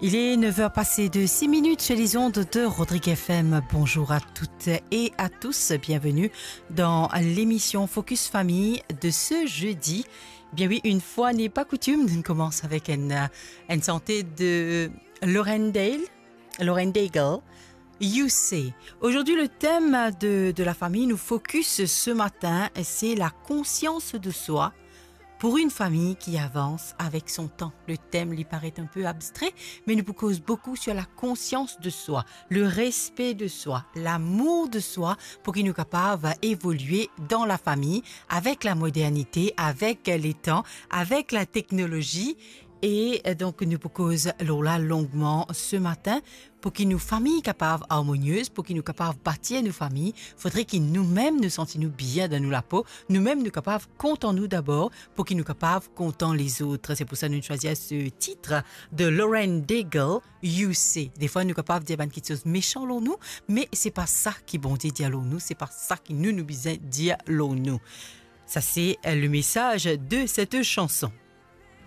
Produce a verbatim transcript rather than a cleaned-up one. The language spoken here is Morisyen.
Il est neuf heures passées de six minutes sur les ondes de Rodrigue F M. Bonjour à toutes et à tous. Bienvenue dans l'émission Focus Famille de ce jeudi. Bien oui, une fois n'est pas coutume, nous commençons avec une, euh, une santé de Lauren Dale. Lauren Daigle, You Say. Aujourd'hui, le thème de, de la famille nous focus ce matin, c'est la conscience de soi pour une famille qui avance avec son temps. Le thème lui paraît un peu abstrait, mais nous cause beaucoup sur la conscience de soi, le respect de soi, l'amour de soi, pour qu'il nous capable évoluer dans la famille avec la modernité, avec les temps, avec la technologie. E, euh, donk, nou pou koz lor la longman se matin, pou ki nou fami kapav armoniez, pou ki nou kapav batir nou fami, fodre ki noumem nou santi nou bien dan nou lapo, noumem nou kapav kontan nou dabor, pou ki nou kapav kontan lezot. Se pou sa nou swazir se tit de Lauren Daigle, You Say. Defwa nou kapav dir bann kiksoz mesan lor nou, me se pa sa ki Bondie dir lor nou, se pa sa ki nou, nou bizin dir lor nou. Sa se, euh, le message de cette chanson.